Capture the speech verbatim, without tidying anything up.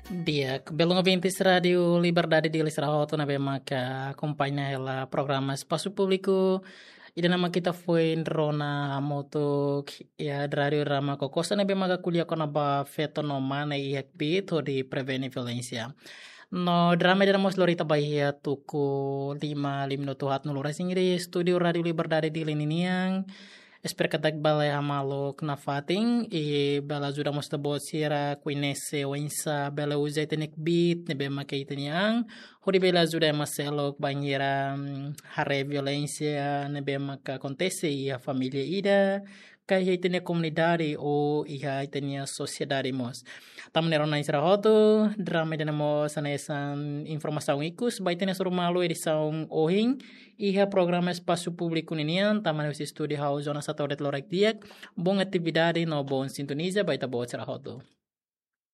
Di'ak, belun ouvintes Rádiu Liberdade Dili sira hotu ne'ebé maka akompaña hela programa Espasu Públiku. Ida-ne'e mak ita foin rona hamutuk iha Rádiu Rama Kokosa ne'ebé maka ko'alia kona-ba feto no mane iha kbiit hodi prevene violénsia. No drama ida-ne'e mós lori ita ba iha tuku lima, lima minutu haat no lura singri estúdiu Rádiu Liberdade Dili ninian. Espera katak bele hamaluk nafatin i bele ajuda mós ita-boot sira koñese oinsá bele uza ita-nia kbiit ne'ebé maka ita-nian, hodi bele ajuda ema seluk bainhira, mm, haree violénsia ne'ebé maka akontese iha família ida, ka iha ita-nia komunidade ou iha ita-nia sosiedade mós. Tan ne'e rona sira hotu, drama ida-ne'e mós hanesan informasaun ikus ba ita-nia hasoru malu edisaun ohin, iha programa Espasu Públiku ninian, tan ne'e husi estúdiu ha'u Jonas Satodet loraik di'ak, boa atividade no boa sintoniza ba ita-boot sira hotu.